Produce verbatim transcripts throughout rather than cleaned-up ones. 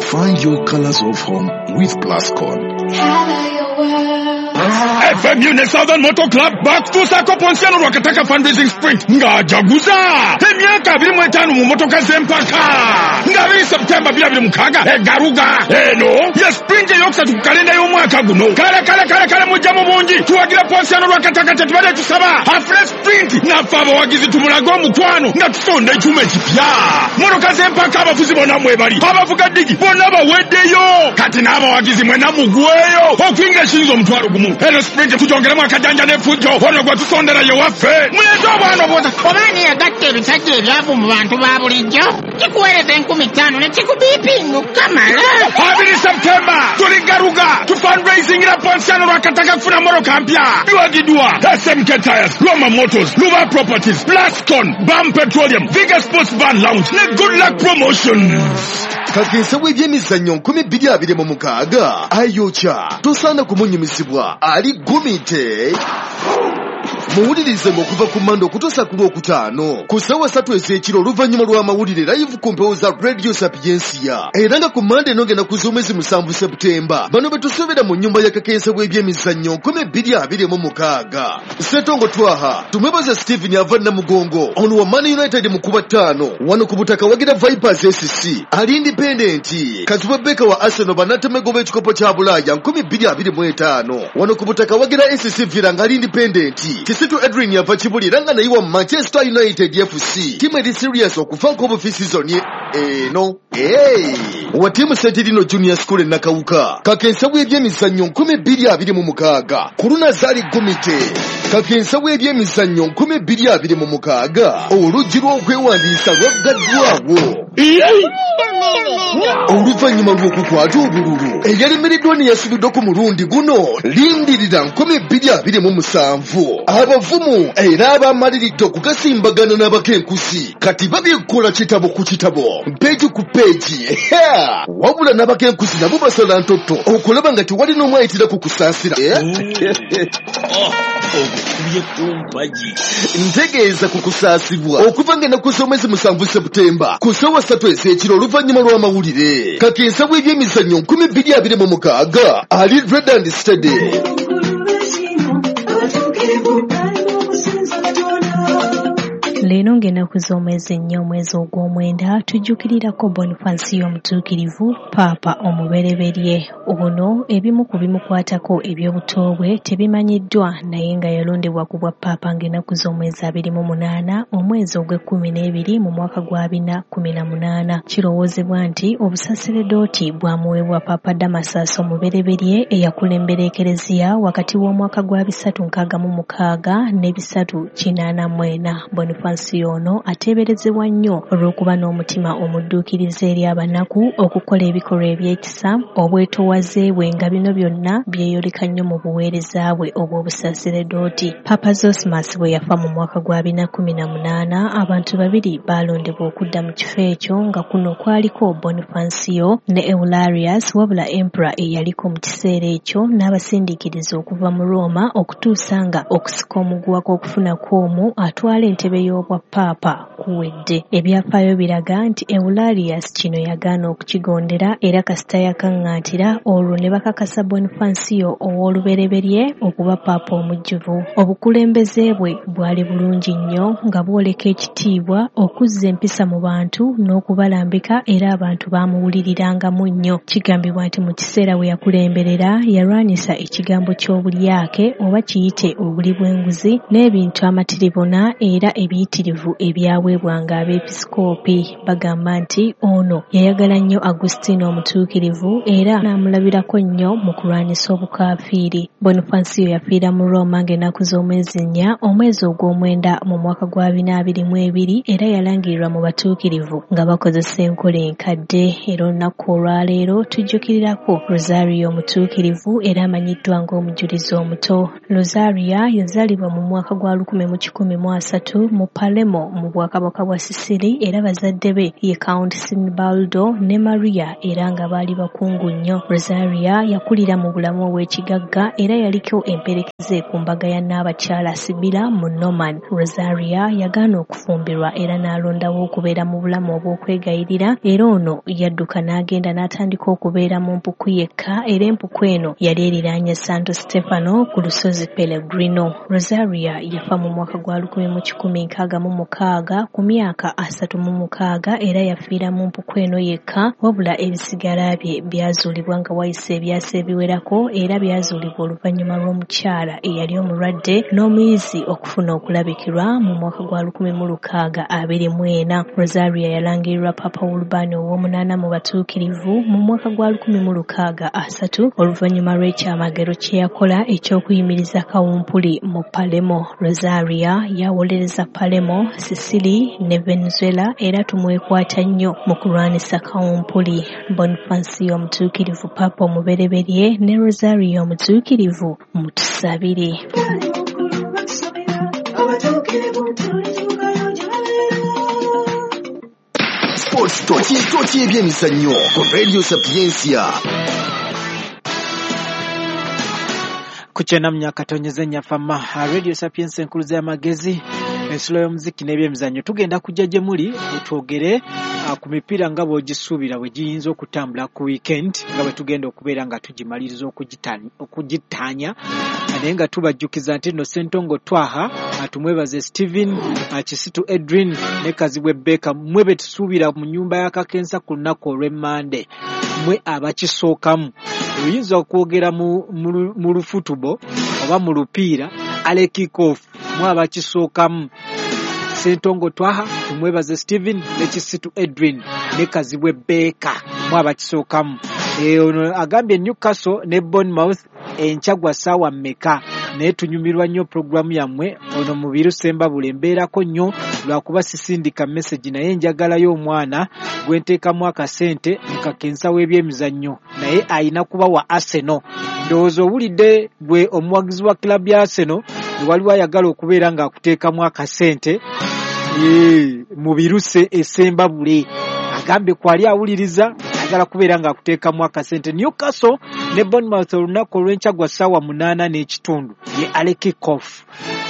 Find your colors of home with Plascon. Color your world. F M U ne Southern Motor Club bakutuusaako Ponsiano Lwakataka Fundraising Sprint ng'ajaguza emyaka abiri mu etaano mu motoka z'empaka nga abiri Septemba bibiri abiri mukaaga e Garuga. Eno ye sprint eyokusatu ku kalenda y'omwaka guno. Kale kale kale kale, mujja mu bungi tuwagira Ponsiano Lwakataka. Tetubadde tusaba afune sprint, naffe abawagizi tumulage omukwano nga tusonda ekyuma ekipya. Motoka z'empaka, abafuzi bonna mwebali, abavuga ddigi bonna baweddeyo. Kati n'abawagizi mwena mugweyo okuyingira ekiyinza omutwalo gumu. Eno sprint tugyongeremu akajanja n'effujjo. Ono gwe tusondera ye waffe, muleete obwana obwota. Oba ani yagatta ebisajja ebyavu mu bantu ba bulijjo? Kikuweereza enkumi ttaano ne kikubiipinga okukamala. Abiri Septemba tuli Garuga, tufundraisingira Ponsiano Lwakataka kufuna motoka mpya. Biwagiddwa S M K Tires, Roma Motors, Luba Properties, Plascon, Bam Petroleum, Viga Sports Van Lounge ne Good Luck Promotions. Kakensa w'ebyemizannyo nkumi bbiri abiri mu mukaaga ayokya, tosaana kumunyumizibwa, ali gumite. Muwulirize ng'okuva ku Mande okutuusa ku Lwokutaano ku ssaawa ssatu ez'ekiro oluvannyuma lw'amawulire, live ku mpewo za Radio Sapiensia. Era nga ku Mande eno ngenda ku z'omwezi musanvu Seputemba, bano be tusuubira mu nnyumba ya kakensa w'ebyemizannyo nkumi bbiri abiri mu mukaaga. Setongo Twaha, tumwebaza Stephen ava Namugongo, ono wa Man United mu kuba ttaano. Wano ku butaka wagira Vipers S C ali independent. Kazibwe Beka wa Arsenal, banatemego b'ekikopo kya Bulaaya nkumi bbiri abiri mu etaano. Wano ku butaka wagira S C Villa nga ali independent. Kisitu Edwin yava Kibuli era nga naye wa Manchester United F C, tiimu eri serious okuvaako obufi season eno. Hey! Wa tiimu Sentirino Junior School e Nakawuka. Kakensa w'ebyemizannyo nkumi bbiri abiri mu mukaaga ku Lunazaali Gumite. Kakensa w'ebyemizannyo nkumi bbiri abiri mu mukaaga, oluggi lw'okwewandiisa lwaggaddwawo oluvannyuma lw'okukwata obululu eyalemereddwa ne yasubiddwa ku mulundi guno. Lindirira nkumi bbiri abiri mu musanvu, abavumu era abamaliridde okugasimbagana n'abakenkusi kati babikola kitabo ku kitabo, peegi ku peegi. Wabula n'abakenkusi nabo basala ntotto okulaba nga tewali n'omu ayitira ku kusaasira. Ogukubye kumpagi. Ntegeeza ku kusaasibwa okuva ng'ennaku z'omwezi musanvu Seputemba ku ssaawa ssatu ez'ekiro oluvannyuma lw'amawulire. Kakensa bw'ebyemizannyo nkumi bbiri abiri mu mukaaga ali red and steady. Leero ng'ennaku z'omwezi nnya omwezi ogw'omwenda tujjukirirako Bonifansiyo Omutuukirivu, Paapa omubereberye. Ono ebimu ku bimukwatako eby'obuto bwe tebimanyiddwa, naye nga yalondebwa ku bwa Paapa ng'ennaku z'omwezi abiri mu munaana omwezi ogw'ekkumi n'ebiri mu mwaka gwa bina kkumi na munaana. Kirowoozebwa nti obusaseredooti bwamuweebwa Paapa Damasaasi omubereberye eyakulembera Ekereziya wakati w'omwaka gwa bisatu nkaaga mu mukaaga ne bisatu kinaana mu ena. Bonifansiyo ono ateeberezebwa nnyo olw'okuba n'omutima omudduukirize eri abanaku, okukola ebikolwa eby'ekisa, obwetoowaze bwe, nga bino byonna byeyoleka nnyo mu buweereza bwe obw'obusaseredooti. Paapa Zosmas bwe yafa mu mwaka gwa bina kkumi na munaana, abantu babiri baalondebwa okudda mu kifo ekyo, nga kuno kwaliko Bonifansiyo ne Eularius. Wabula emperor eyaliko mu kiseera ekyo n'abasindiikiriza okuva mu Roma okutuusa nga okusika omuguwa kw'okufuna kw'omu atwala entebe y'obwa paapa kuwedde. Ebyafaayo biraga nti Eularius kino yagaana okukigondera, era kasita yakaŋŋaatira olwo ne bakakasa Bonifansiyo ow'olubereberye okuba paapa omujjuvu. Obukulembeze bwe bwali bulungi nnyo, nga bwoleka ekitiibwa, okuzza empisa mu bantu n'okubalambika, era abantu baamuwulirirangamu nnyo. Kigambibwa nti mu kiseera we yakulemberera yalwanyisa ekigambo ky'obulyake, oba kiyite obuli bw'enguzi, n'ebintu amatiribona era ebiyitirivu ebyaweebwanga abeepisikoopi. Bagamba nti ono yayagala nnyo Agustino Omutuukirivu era n'amulabirako nnyo mu kulwanyisa obukaafiiri. Bonifansiyo yafiira mu Roma ng'ennaku z'omwezi nnya omwezi ogw'omwenda mu mwaka gwa bina abiri mu ebiri, era yalangirirwa mu batuukirivu nga bakozesa enkola enkadde. Era olunaku olwaleero tujjukirirako Rosario Omutuukirivu, era amanyiddwa ng'omujulizi omuto. Rosaria yazaalibwa mu mwaka gwa lukumi mu kikumi mu asatu mu Palermo. Palermo mu bwakabaka bwa Sicily era bazadde be ye Count Sinibaldo ne Maria era nga baali bakungu nnyo. Rosaria yakulira mu bulamu obw'ekigagga era yaliko emperekeze ku mbaga ya Nnaabakyala Sibila mu Norman. Rosaria yagaana okufumbirwa era n'alondawo okubeera mu bulamu obw'okwegayirira era ono yadduka n'agenda n'atandika okubeera mu mpuku yekka era empuku eno yali eriraanye Santo Stefano ku lusozi Pellegrino. Rosaria yafa mu mwaka gwa lukumi mu kikumi nkaaga mu mukaaga ku myaka asatu mu mukaaga era yafiira mu mpuku eno yekka, wabula ebisigala bye byazuulibwa nga wayise ebyasa ebiwerako era byazuulibwa oluvannyuma lw'omukyala eyali omulwadde n'omuyizi okufuna okulabikirwa mu mwaka gwa lukumi mu lukaaga abiri mu ena. Rosaria yalangirirwa Papa Urban ow'omunaana mu batuukirivu mu mwaka gwa lukumi mu lukaaga asatu oluvannyuma lw'ekyamagero kye yakola eky'okuyimiriza kawumpuli mu Palermo. Rosaria yawolereza Palermo, Sicily ne Venezuela era tumwekwata nnyo mu kulwanisa kawumpuli. Bonifacio omutuukirivu Papa omubereberye ne Rosaria omutuukirivu mutusabire. Sports Tochi Tochi ebyemizannyo ku Radio Sapientia. Kuchena mnyakatonyeze nyafama Radio Sapientia enkuluza y'amagezi ensulo y'omuziki n'ebyemizannyo. Tugenda kujja gye muli twogere ku mipiira nga bw'ogisuubira bwe giyinza okutambula ku weekend nga bwe tugenda okubeera nga tugimaliriza okugitaanya, naye nga tubajjukiza nti nno Ssentongo Twaha, tumwebaze Steven, Kisitu Edwin ne Kazibwe Beka, mmwe be tusuubira mu nnyumba ya Kakensa ku lunaku olw'Emmande, mmwe abakisookamu. Oyinza okwogera mu lufutubo oba mu lupiira ale kick-off, mmwe abakisookamu. Ssentongo Twaha, tumwebaze Steven ne Kisitu Edwin ne Kazibwe Beka, mmwe abakisookamu. Ono agambye Newcastle ne Bournemouth enkya gwa ssaawa mmeka, naye tunyumirwa nnyo pulogulaamu yammwe. Ono Mubiru Sembabule mbeerako nnyo lwakuba sisindika message, naye njagalayo omwana gwe nteekamu akasente mu kakensa w'ebyemizannyo, naye ayina kuba wa Arsenal. Ndowooza owulidde gwe omuwagizi wa club ya Arsenal, waliwo ayagala okubeera ng'akuteekamu akasente Mubiru Sembabule agambye kwali awuliriza ayagala kubeera ng'akuteekamu akasente. Newcastle ne Bournemouth olunaku olw'enkya gwa ssaawa munaana n'ekitundu ye ale kick-off.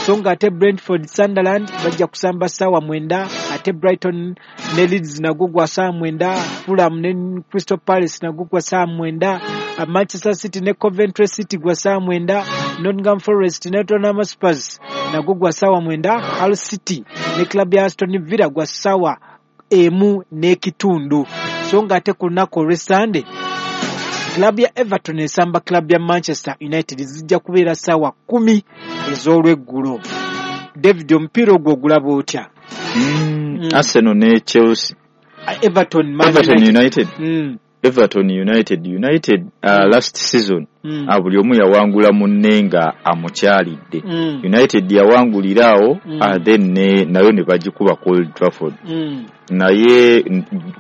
So nga ate Brentford Sunderland bajja kusamba ssaawa mwenda, ate Brighton ne Leeds nagwo gwa ssaawa mwenda, Fulham ne Crystal Palace nagwo gwa ssaawa mwenda, Manchester City ne Coventry City gwa ssaawa mwenda, Nottingham Forest ne Tottenham Hotspur nagwo gwa ssaawa mwenda, Hull City ne club ya Aston Villa gwa ssaawa emu n'ekitundu. So nga ate ku lunaku olw'Essande club ya Everton esamba club ya Manchester United zijja kubeera ssaawa kumi ez'olweggulo. David, omupiira ogwo ogulaba otya? Mm, mm. Arsenal ne Chelsea. Everton, Man Everton United. United. Mm. Everton United United uh, mm. last season mm. uh, buli omu yawangula munne nga amukyalidde. mm. United yawangulirawo mm. uh, then ne, nayo ne bagikuba ku Old Trafford. mm. Naye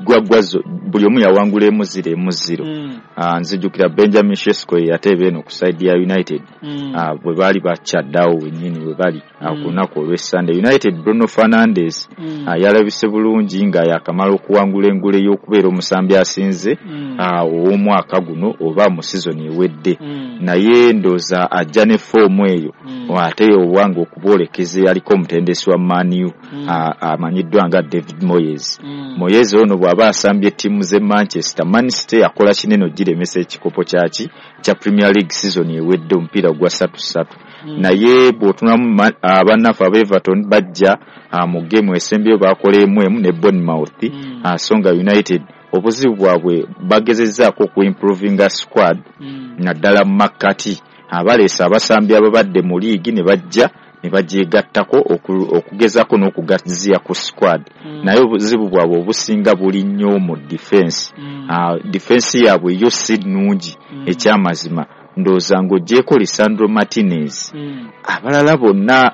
gwagwazo buli omu yawangula emu ziro emu ziro. mm. Uh, nzijukira Benjamin Sesko yateeba eno ku side ya United. mm. uh, bwe baali bakyaddeawo wennyini we bali uh, mm. ku lunaku olw'Essande. United Bruno Fernandes mm. uh, yalabise bulungi nga yakamala okuwangula engule y'okubeera omusambi asinze mm. uh, ow'omwaka guno oba mu season ewedde. mm. Naye ndowooza ajja ne foomu eyo mm. ate owange okuboolekeza yaliko omutendesi wa Man U mm. amanyiddwa nga David Moyes. Mm. Moyes ono bw'aba asambye ttiimu z'e Manchester, Man City yakola kinene ogiremesa ekikopo kyaki kya Premier League season ewedde omupiira gwa ssatu ssatu. Mm. Naye bw'otunamu abannaffe aba Everton bajja mu geemu esembyeyo baakola emu emu ne Bournemouth. Mm. So nga United obuzibu bwabwe bagezezzaako okuimprovinga squad mm. naddala mu makkati abaleese abasambi ababadde mu liigi ne bajja ne bagyegattako okugezaako n'okugaziya ku squad. Mm. Naye obuzibu bwabwe obusinga buli nnyo mu defense. Mm. Uh, defense yaabwe yo si nnungi mm. ekyamazima. Ndowooza ng'oggyeeko Lisandro Martinez mm. abalala bonna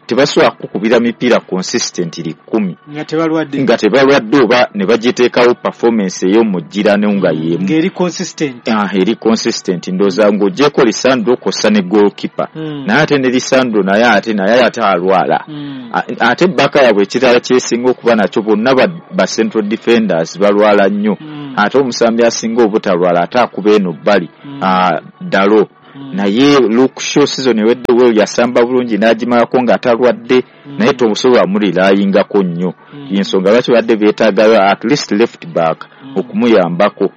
Tebasobola kukubira mipiira consistently kkumi nga tebalwadde nga tebalwadde oba ne bagiteekawo performance ey'omugirano nga y'emu ng'eri consistent. Ah, eri consistent. Ndowooza ng'oggyeko Lisandro kw'ossa ne goalkeeper mm. naye ate ne Lisandro naye ate naye ate alwala mm. ate baka yaabwe ekirala kyesinga okuba nakyo bonna ba, ba central defenders balwala nnyo mm. ate omusambi asinga obutalwala ate akuba eno bbali mm. ah, Dalo mm. naye Luke Shaw season ewedde we yasamba bulungi n'agimalako ng'atalwadde mm. naye tosobola mulirayingako nnyo mm. y'ensonga lwaki badde beetaaga at least left back mm. okumuyambako.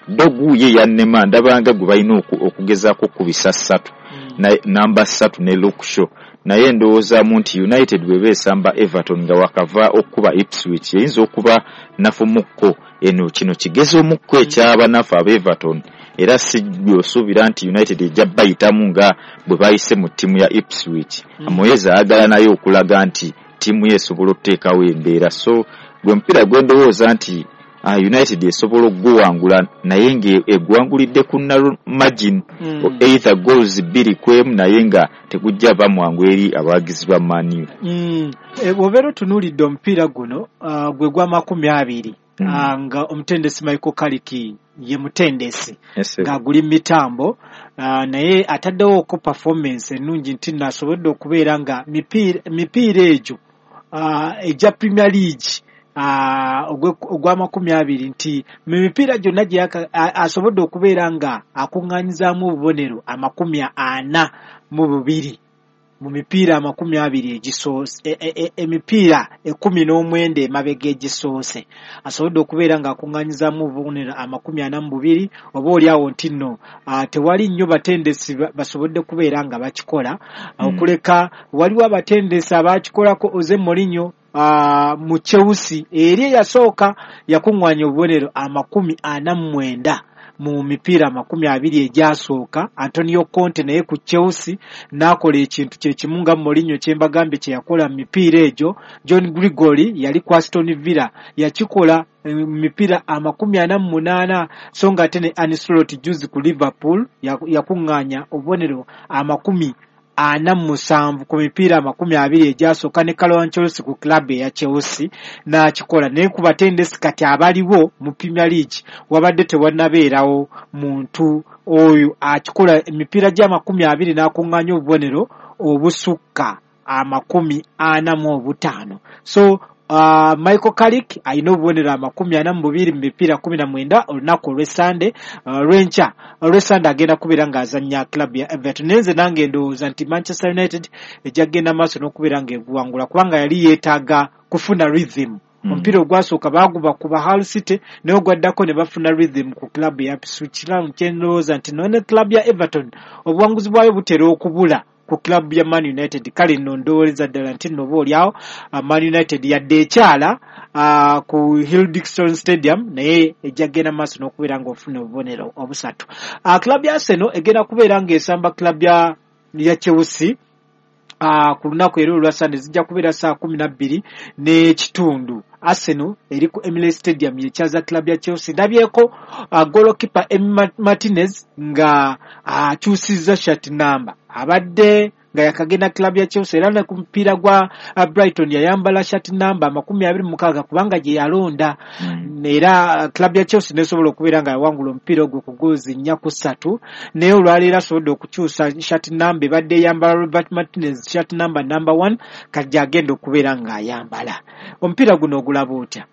Dogu ye yannema ndabanga gwe balina okugezaako okubisa ssatu mm. namba ssatu ne Luke Shaw naye ndowoozaamu nti United bw'eba esamba Everton nga wakava okuba Ipswich eyinza okuba nafumukko eno kino kigezo omukko eky'abanafu aba Everton era si osuubira nti United ejja bayitamu nga bwe bayise mu ttiimu ya Ipswich. Mm. Moyes ayagala naye okulaga nti ttiimu ye esobola okuteekawo embeera so gwe mupiira gwe ndowooza nti uh, United esobola okuguwangula naye ng'egwangulidde ku narrow margin mm. either goals bbiri ku emu naye nga tegujja bamwangu eri abawagizi ba Man U. Mm. E, bw'obeera otunuulidde omupiira guno uh, gwe gwa makumi abiri Mm. uh, nga omutendesi Michael Carrick ye mutendesi Yes, ng'aguli mitambo uh, naye ataddewo ko performance ennungi nti nno asobodde okubeera nga mipiira mipiira egyo uh, egya Premier League uh, ogw'amakumi abiri nti mu mipiira gyonna gye asobodde okubeera nga akuŋŋaanyizaamu obubonero amakumi ana mu bubiri mu mipiira amakumi abiri egisoose emipiira ekkumi n'omwenda emabega egisoose asobodde okubeera ng'akuŋŋaanyizaamu obubonero amakumi ana mu bubiri oba oli awo nti nno tewali nnyo batendesi basobodde kubeera nga bakikola Mm. okuleka waliwo abatendesi abakikolako Jose Mourinho Uh, mu Chelsea eri eyasooka yakuŋŋaanya obubonero amakumi ana mu mwenda mu mipiira amakumi abiri egyasooka. Antonio Conte naye ku Chelsea n'akola ekintu kye kimu nga Mourinho kye mbagambye kye yakola mu mipiira egyo. John Gregory yali ku Aston Villa yakikola mu mipiira amakumi ana mu munaana so nga ate ne Arne Slot juzi ku Liverpool yakuŋŋaanya obubonero amakumi ana mu musanvu ku mipiira amakumi abiri egyasooka ne Carlo Ancelotti ku club eya Chelsea n'akikola. Naye ku batendesi kati abaliwo mu Premier League wabadde tewannabeerawo muntu oyo akikola emipiira gy'amakumi abiri n'akuŋŋaanya obubonero obusukka amakumi ana mu obutaano. So Uh, Michael Carrick alina obubonero amakumi ana mu bubiri mu mipiira kumi na mwenda olunaku olw'Essande olw'enkya uh, olw'Essande agenda kubeera ng'azannya club ya Everton. Naye nze nange ndowooza nti Manchester United ejja kugenda maaso n'okubeera ng'eguwangula kubanga yali yeetaaga kufuna rhythm. Mm. Omupiira ogwasooka baaguba kuba Hull City naye ogwaddako ne bafuna rhythm ku club ya Ipswich. Kye ndowooza nti none club ya Everton obuwanguzi bwayo butera okubula ku club ya Man United. Kale nno ndowooza ddala nti nno oba oliawo Man United yadde ekyala uh, ku Hill Dickinson Stadium naye ejja kugenda maaso n'okubeera ng'ofuna obubonero obusatu. Uh, club ya Arsenal egenda kubeera ng'esamba club ya, ya Chelsea uh, ku lunaku era olwa Sunday zijja kubeera saa kumi na bbiri n'ekitundu. Arsenal eri ku Emirates Stadium yekyaza club ya Chelsea. Ndabyeko uh, goalkeeper Emi Martinez nga akyusizza uh, shirt number abadde nga yakagenda club ya Chelsea era ne ku mupiira gwa uh, Brighton yayambala shirt number amakumi abiri mu mukaaga kubanga gye yalonda Mm. era club ya Chelsea nesobola okubeera nga yawangula omupiira ogwo ku goozi nnya ku ssatu naye olwaleero asobodde okukyusa shirt number ebadde eyambala Robert Martinez shirt number number one kati agenda okubeera ng'ayambala. Omupiira guno ogulaba otya?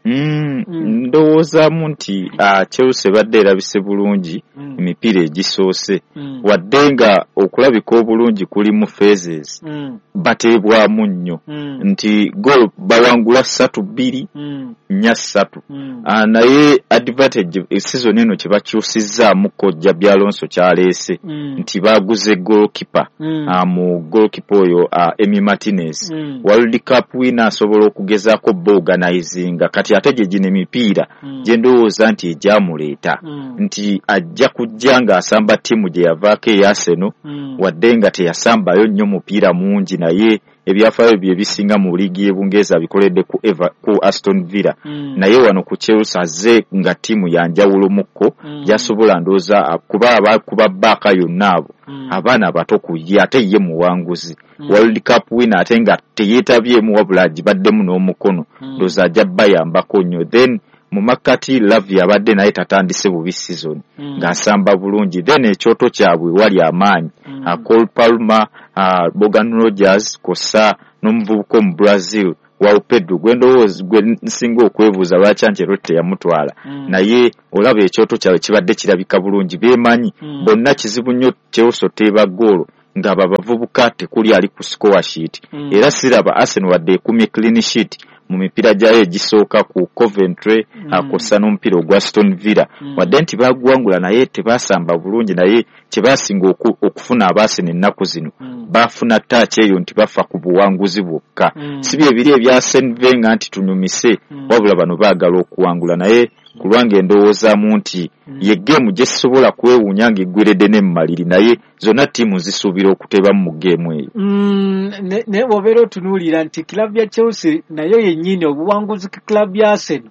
Mm, Mm. Ndowoozaamu nti uh, Chelsea ebadde erabise bulungi Mm. emipiira egisoose Mm. wadde nga okulabika obulungi kuli mu phases Mm. bateebwamu nnyo Mm. nti goal bawangula ssatu bbiri Mm. nnya ssatu Mm. uh, naye advantage season eno kye bakyusizzaamuko Xabi Alonso kyaleese Mm. nti baaguze goalkeeper Mm. uh, mu goalkeeper oyo uh, Emi Martinez Mm. World Cup winner asobola okugezaako boorganizinga kati ate gye gino emipiira Mm. gye ndowooza nti egyamuleeta Mm. nti ajja kujja ng'asamba ttiimu gye yavaako eya Arsenal Mm. wadde nga teyasambayo nnyo mupiira mungi naye Ebyafaayo bye bisinga mu liigi y'e Bungereza bikoledde ku Eva, ku Aston Villa. Mm. Naye wano ku Chelsea azze nga ttiimu ya njawulo mukko, Mm. gyasobola ndowooza kuba abakuba bbaaka yonna abo Mm. abaana bato ku ye, ate ye muwanguzi Mm. World Cup winner, ate nga teyeetabyemu wabula agibaddemu n'omukono. Mm. Ndowooza ajja bayambako nnyo. Then mu makkati Lavia abadde naye tatandise bubi season, Mm. ng'asamba bulungi. Then ekyoto kyabwe wali amaanyi, Mm. uh, Cole Palmer, uh, Morgan Rogers kosa n'omuvubuka omu Brazil Joao Pedro, gwe ndowooza gwe nsinga okwebuuza lwaki Ancelotti teyamutwala. Mm. Naye olaba ekyoto kyabwe kibadde kirabika bulungi, beemanyi Mm. bonna. Kizibu nnyo Chelsea oteeba ggoolo ng'abo abavubuka tekuli ali ku score sheet. Mm. Era siraba Arsenal wadde ekumye clean sheet mu mipiira gyayo egisooka ku Coventry, Mm. akosa n'omupiira ogwa Aston Villa, Mm. wadde nti baguwangula naye tebasamba bulungi. Naye kye basinga oku, okufuna aba Arsenal ennaku zino, Mm. bafuna touch eyo nti bafa ku buwanguzi bwokka, Mm. si bye biri ebya Arsene Wenger nti tunyumise, Mm. wabula bano baagala okuwangula. Naye ku lwange ndowoozaamu nti Mm. ye geemu gye sisobola kwewuunya ng'eggweredde ne mu maliri, naye zonna ttiimu zisuubira okuteebamu mu geemu eyo. Mm, ne- naye bw'obeera otunuulira nti kilabu ya Chelsea nayo yennyini obuwanguzi ku kilabu ya Arsenal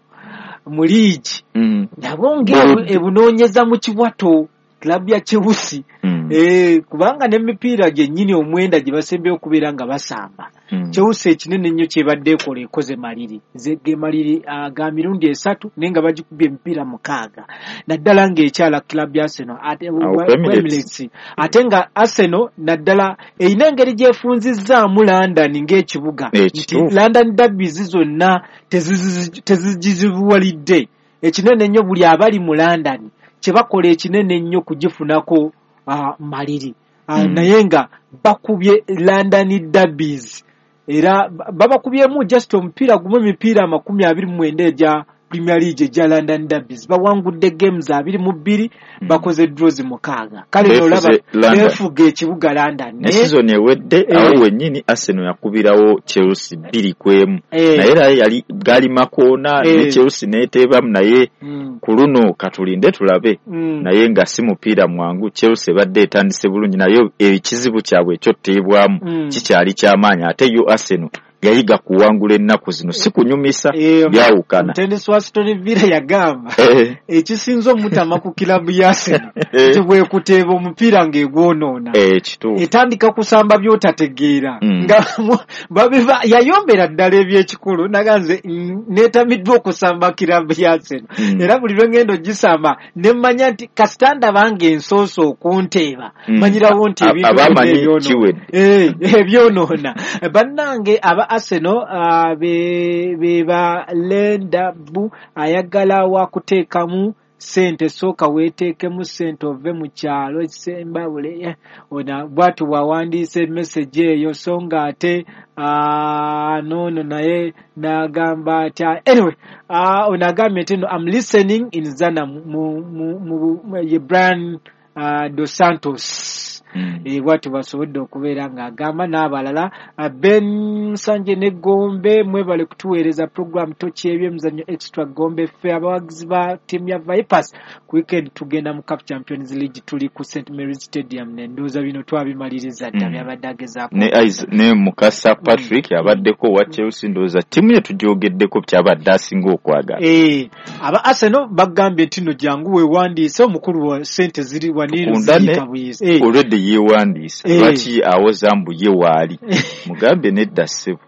mu liigi Mm. nabwo ng'ebunoonyeza mu kiwato kilabu ya Chelsea. Mm. Eh, kubanga n'emipiira gyennyini omwenda gye basembyeyo okubeera nga basamba, Mm. Chelsea ekinene ennyo kyebadde ekola ekoze maliri. Ze ge maliri ah, ga mirundi esatu, naye nga bagikubye emipiira mukaaga, naddala ng'ekyala club ya Arsenal ate Awo ku Emirates. Emirates. Ate nga Arsenal naddala erina engeri gyefunzizzaamu London ng'ekibuga, Eh, nti kituufu. London derbies zonna tezizi- tezigizibuwalidde. Ekinene ennyo buli abali mu London kye bakola ekinene ennyo kugifunako uh, maliri. uh, Mm. Naye nga bakubye London derbies, era ba- babakubyemu just omupiira gumu emipiira amakumi abiri mu mwenda egya Premier League egya London derbies, bawangudde games abiri mu bbiri, Mm. bakoze draws mukaaga. Kale Beefuze nolaba London. beefuga ekibuga London. Ne Naye- season ewedde, Eh. awo wennyini Arsenal yakubirawo Chelsea bbiri ku emu, Eh. naye era yali gaali makoona Eh. ne Chelsea n'eteebamu. Naye Mm, ku luno katulinde tulabe, mm. naye nga si mupiira mwangu. Chelsea ebadde etandise bulungi, naye ekizibu kyabwe ekyoteebwamu Mm. kikyali kyamaanyi, ate yo Arsenal yayiga kuwangula ennaku zino, si kunyumisa, Eh, byawukana. Omutendesi wa Aston Villa yagamba Eh, ekisinza omutama ku kilabu ya Arsenal Eh. nti bwekuteeba omupiira ng'egwonoona, eh, kituufu. Etandika kusamba by'otategeera, Mm. nga mu- babiva yayombera ddala ebyekikulu naga nze mm, neetamiddwa okusamba kilabu ya Arsenal, Mm. era buli lwe ngenda ogisamba ne mmanya nti kasita ndaba ng'ensoose okunteeba, Mm. manyirawo nti A- ebintu abamanyi byonna ebyonoona. kiwedde. Eh, ebyonoona. Bannange aba Arsenal ah, be be ba Lendabu ayagala wakuteekamu ssente, sooka weeteekemu ssente ove mu kyalo sembabule. Ono bw'atyo bw'awandiisa emessage eyo, so nga ate ah, noono naye n'agamba atya. Anyway, ah, ono agambye nti no, "I'm listening in Zana," mu, mu, mu, mu, ye Brian uh, Dos Santos. Mm. Eh, bw'atyo basobodde okubeera ng'agamba n'abalala. Ah, Ben Sanje ne Gombe, mwebale kutuweereza program Toki ebyemizannyo Extra Gombe. Ffe abawagizi ba ttiimu ya Vipers, ku weekend tugenda mu CAF Champions League, tuli ku Saint Mary's Stadium. Nendowooza bino twabimaliriza dda. Mm. Byabadde agezaako Ne Is- ne Mukasa Patrick abaddeko owa Chelsea, ndowooza ttiimu ye tugyogeddeko kyabadde asinga okwagala. Eh, aba Arsenal bagambye nti no jangu weewandiise omukulu wa ssente ziri waniino Tukundane. ziyiika buyizi. Eh, Olwedde yeewandiisa, Eh. lwaki awoza mbu ye waali? Mugambe nedda ssebo.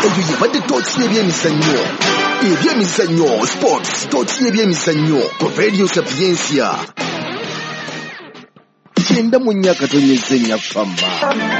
Eyo yebadde Tooki y'ebyemizannyo, ebyemizannyo, sports, Tooki y'ebyemizannyo ku Radio Sapiensia kyenda mu nnya akatonyeza ennya fama.